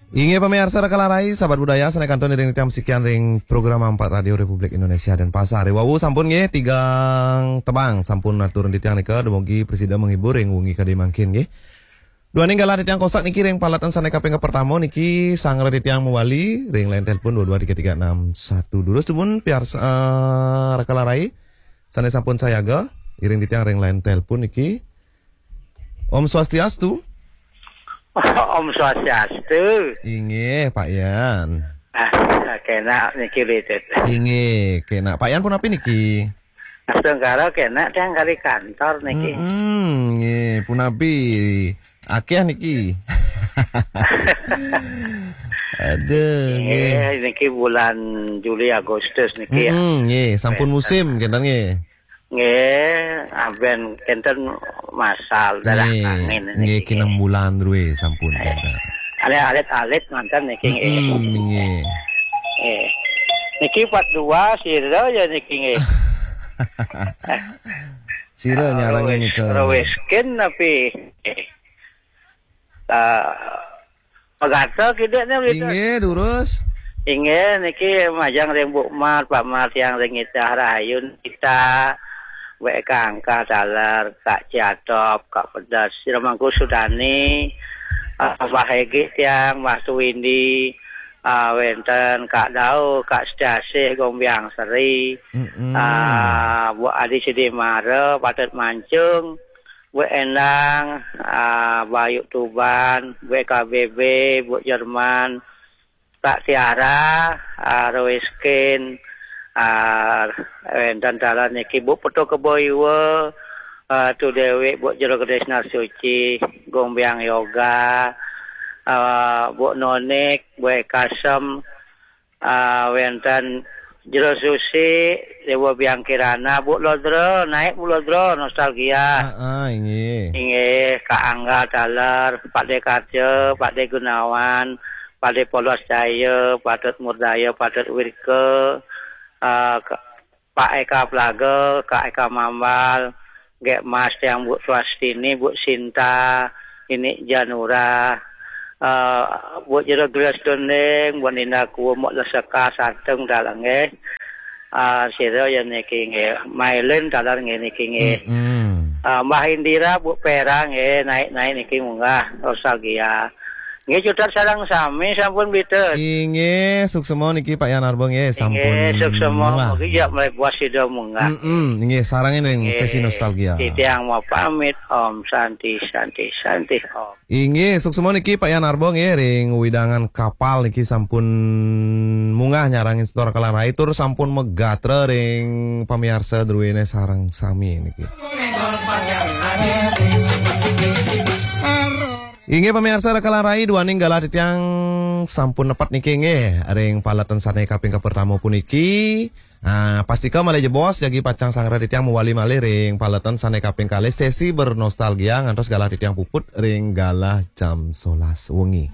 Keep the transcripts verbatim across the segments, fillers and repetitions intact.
Inggih pamiarsa Rakala Rai, sahabat budaya, sané kantun iring titiang masikian ring program Empat Radio Republik Indonesia Denpasar. Ri wau sampun nggih tigang tembang sampun aturang titiang nika, dumugi prasida menghibur ring wengi kadi mangkin nggih. Duaning galah titiang kosak niki ring paletan sané kaping kapertama niki, sanggra titiang mawali ring line telepon dua dua tiga tiga enam satu. Durus dumun piarsa, eh, Rakala Rai sané sampun sayaga iring titiang ring line telepon niki. Om Swastiastu. Om Swastiastu. Inggih, Pak Yan. Ah, kénak niki, Ridit. Inggih, kénak. Pak Yan punapi niki? Astungkara kénak tiang kari kantor niki. Mm-mm, nggih, punapi? Akéh niki. Aduh, nggih. Nggih, niki bulan Juli Agustus niki ya. Mm-mm, nggih, sampun musim kénten nggih. Nggih, aben kénten masal darah angin niki. Nggih, niki kinten bulan drué sampun kénten. Alit-alit manten niki nggih. Mm-mm, nggih. Nggih. Niki part dua sira ya niki nggih. Sira nyarengin nika. Rawis kin napi? Ah, pegata kidik nih gitu. Inggih, durus. Inggih, niki majeng ring Bu Mar, Pak Mar tiang ring Itah Rahayu kita. Wek Kak Angka taler, Kak Ciatop, Kak Pedas, Sira Mangku Sudani, ah, Mbah Egi tiang, Mbah Tuwindi, ah, wénten Kak Dau, Kak Setiasih, Gombiang Seri, mm-mm, ah, Bu Adi Sidimara, Patut Mancung, Bu Endang, ah, Bayu Tuban, Bu K B B, Bu Jerman, Kak Tiara, ah, Roiskin, ah, wénten taler niki Bu Putu Kebo Iwa, ah, Tu Dewi, Bu Jero Gedé Sinar Suci, Gombiang Yoga, ah, Bu Nonik, Bu Kasem, ah, wénten Jero Susi, Dewa Biang Kirana, Bu Lodro, naik Bu Lodro, nostalgia. Heeh, inggih. Inggih, Kak Angga taler, Pak De Karja, Pak De Gunawan, Pak De Polos Jaya, Patut Murdaya, Patut Wirka, ah, Ka-, Pak Eka Plaga, Kak Eka Mambal, Gék Mas tiang Bu Swastini, Bu Sinta, Inik Janura, eh, Bu Jero Gelas Dondeng, Bu Ninda Kuwu, Mok Leseka, Santung taler nggih. Ah, sira ya niki nggih, Mailin taler nggih niki nggih. Mm-mm. Ah, Mbah Indira, Bu Pera nggih, naik-naik niki munggah, nostalgia. Nggih, cutet sareng sami sampun, Peter. Inggih, suksema niki Pak Yan Arba nggih, sampun. Inggih, suksema. Munggah. Mugi ya mlebu sida munggah. Mm-mm, inggih, sarengin ring sesi nostalgia. Titiang mau pamit, Om Santi, Santi, Santi, Om. Inggih, suksema niki Pak Yan Arba nggih, ring wewidangan Kapal niki sampun munggah nyarengin setor Rakala Rai tur sampun magatra ring pamiarsa druéné sareng sami niki. Inggih pamiarsa Rakala Rai, duaning galah titiang sampun nepet niki nggih ring paletan sané kaping kapertama puniki. Ah, pastika malih jebos jagi pacang sanggra titiang mawali malih ring paletan sané kaping kalih sesi bernostalgia ngantos galah titiang puput ring galah jam solas wengi.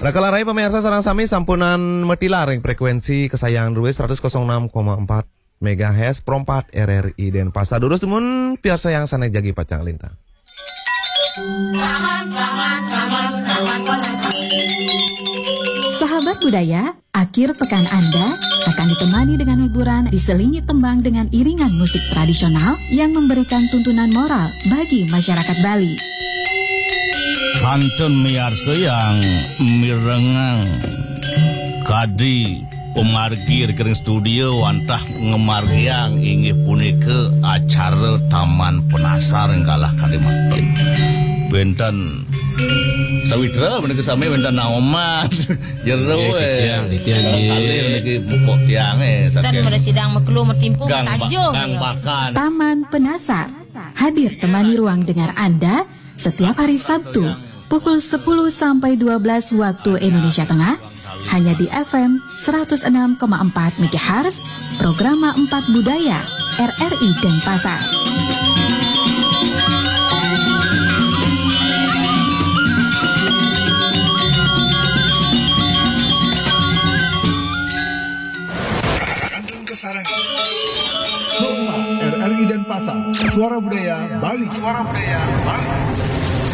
Rakala Rai pamiarsa sareng sami sampunang matilar ring frekuensi kesayangan drué seratus kosong enam koma empat megahertz Pro empat R R I Denpasar. Durus dumun piarsayang sané jagi pacang lintang. Sahabat budaya, akhir pekan Anda akan ditemani dengan hiburan diselingi tembang dengan iringan musik tradisional yang memberikan tuntunan moral bagi masyarakat Bali. Kantun miarsayang mirengang kadi pamargi ring studio wantah ngamargiang inggih punika acara Taman Penasar galah kadi mangkin. Wénten Sawitra menika sami wénten Naoman. Jero, nggih, eh. Titiang, titiang, nggih. Kalih niki mupuk tiang, eh, saking Mresidang Mekelu Metimpu Gang Ba-, Tanjung, Gang ya. Bakan. Taman Penasar hadir temani ruang dengar Anda setiap hari Sabtu pukul sepuluh sampai dua belas waktu Indonesia Tengah, hanya di F M seratus enam koma empat megahertz, Programa empat Budaya, R R I Denpasar. Kantun kasarengin. Rumah R R I Denpasar, Suara Budaya Bali. Suara Budaya Bali.